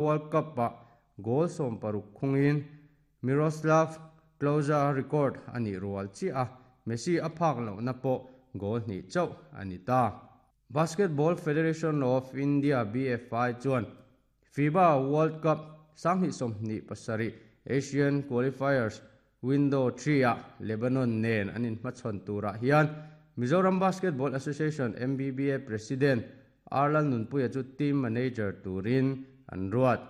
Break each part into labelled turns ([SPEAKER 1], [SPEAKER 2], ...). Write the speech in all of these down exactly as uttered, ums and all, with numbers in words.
[SPEAKER 1] World Cup-ah goal sawm paruk khungin Miroslav Klose record a nih rual chiah a, Messi a phak lohna pawh goal hnih chauh a ni ta. Basketball Federation of India B F I chuan FIBA World Cup sanghnih sawmhnih pasarih Asian Qualifiers Window three-ah Lebanon nen an inhmachhawn turah hian Mizoram Basketball Association M B B A President R Lalnunpuia chu team manager turin an ruat.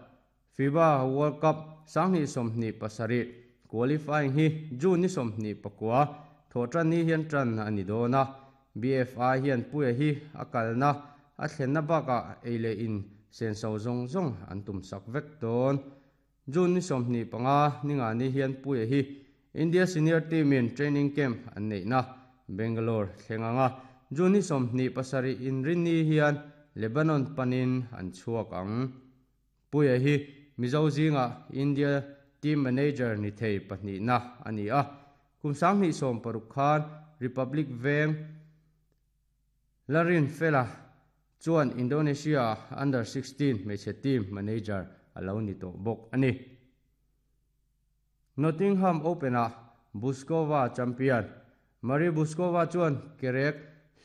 [SPEAKER 1] FIBA World Cup sanghnih sawmhnih pasarih qualifying hi June ni sawmhnih pakua thawhtan ni hian tan a ni dawn a. B F I hian Puia hi a kalna a thlenna bakah ei leh in senso zawng zawng an tum sak vek dawn. June ni sawmhnih panga ninga ni hian Puia hi India senior team in training camp an neihna Bangalore thleng anga, June ni sawmhnih pasarih inrinni hian Lebanon panin an chhuak ang. Puia hi Mizo zinga India team manager ni thei pahnihna a ni a. Kum sanghnih sawm paruk khan Republic Veng Larin Fela chuan Indonesia under sixteen hmeichhe team manager a lo ni tawh bawk a ni. Nottingham Open-ah Bouzkova champion. Marie Bouzkova chuan kerek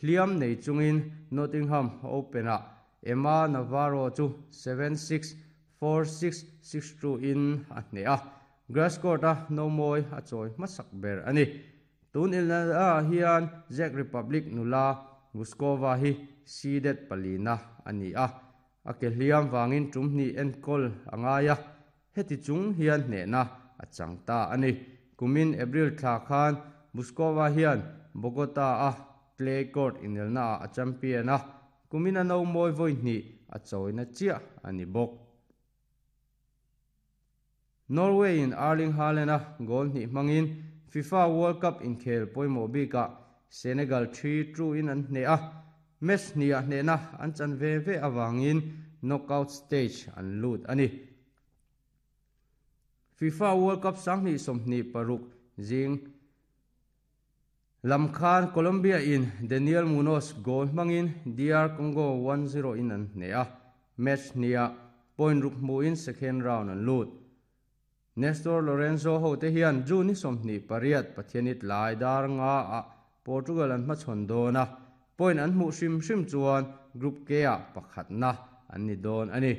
[SPEAKER 1] hliam nei chungin Nottingham Open-ah Emma Navarro chu seven six, four six, six two in a hneh a. Grass court-a nomawi a chawi hmasak ber a ni. Tun ilna hian Czech Republic nula Bouzkova hi seeded palina a ni a. A ke hliam wangin tum hnih enkawl a ngai a. Heti chung hian hnehna a chang ta a ni. Kumin April thla khan Bouzkova hian Bogota a clay court inelna a champion a. Kumin a nomawi vawi hnih a chawina chiah a ni bawk. Norway in Erling Haaland a goal hnih hmangin FIFA World Cup inkhel pawimawh bikah Senegal three two in an hneh a. Match hnih hnehna an chan ve ve awangin knockout stage an lut a ni. FIFA World Cup sanghnih sawmhnih paruk zing lamkhan Colombia in Daniel Munoz goal hmangin D R Congo one zero in an hneh a. Match hniah point ruk hmuin second round an lut. Nestor Lorenzo ho te hian June ni sawmhnih pariat Pathianit lai dar nga a Portugal an hmachhawn dawn a. Point an hmuh hrim hrim chuan Group K ah pakhatna an ni dawn a ni.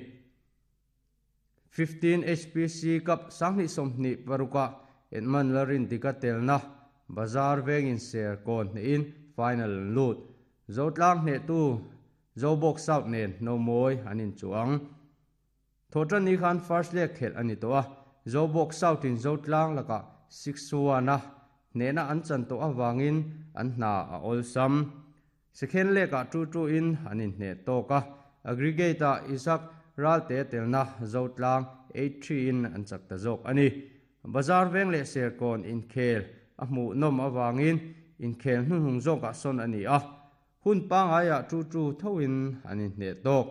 [SPEAKER 1] fifteen H P C Cup sanghnih sawmhnih paruka Edmund Larin tika telna Bazar vengin Serkawn hnehin final an lut. Zotlang hneh tu Zobawk South nen nomawi an inchuang. Thawhtan ni khan first leg khelh a ni tawh a. Zobawk South in Zotlang lakah six one a hnehna an chan tawh awangin an hna a awlsam. Second leg ah two two in an inhneh tawk a. Aggregate ah Isaac Ralte telna Zotlang eight three in an chak ta zawk a ni. Bazar veng leh Serkawn inkhel a hmuh nawm awangin inkhel hnuhnung zawkah sawn a ni a. Hun pangaiah two two thoin an inhneh tawk.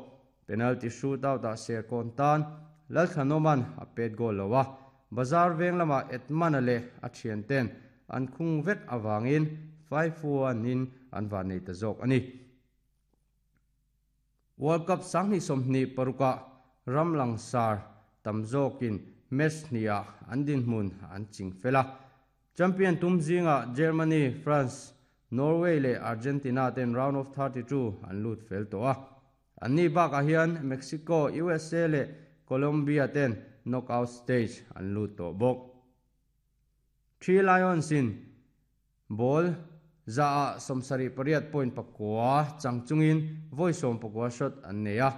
[SPEAKER 1] Penalty shootout ah Serkawn tan Lalthlanoman a pet goal lo a. Bazar veng lamah Edmana leh a thian ten an khung vek awangin five one in an van nei ta zawk a ni. World Cup sanghnih sawmhnih paruka ram langsar tam zawkin match hniah an dinhmun an ching fel a. Champion tum zinga Germany, France, Norway leh Argentina ten round of thirty-two an lut fel tawh a. Anni bakah hian Mexico, U S A leh Colombia ten knockout stage an lut tawh bawk. Three Lions in ball za a sawmsarih pariat point pakua chang chungin vawi sawm pakua shot an nei a.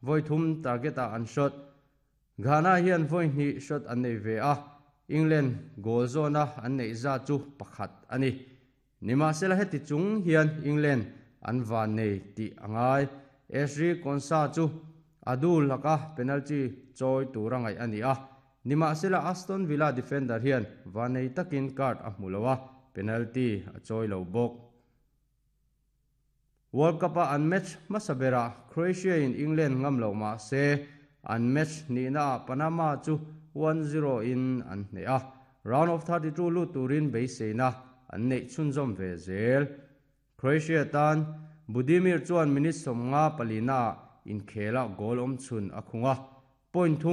[SPEAKER 1] Vawi thum target ah an shot. Ghana hian vawi hnih shot an nei ve a. England goal zawna an neih za chu pakhat a ni. Nimahsela heti chung hian England an van nei tih a ngai. Ezri Konsa chu adu laka penalty chawi tura ngaih a ni a. Nimahsela Aston Villa defender hian van nei takin card a hmu lo a, penalty a chawi lo bawk. World Cup a an match hmasa berah Croatia in England ngam lo mah se an match nihna ah Panama chu one zero in an hneh a. Round of thirty-two lut turin beiseina an neih chhunzawm ve zel. Croatia tan Budimir chuan minute sawmnga palina inkhela goal awm chhun a khung a. Point thum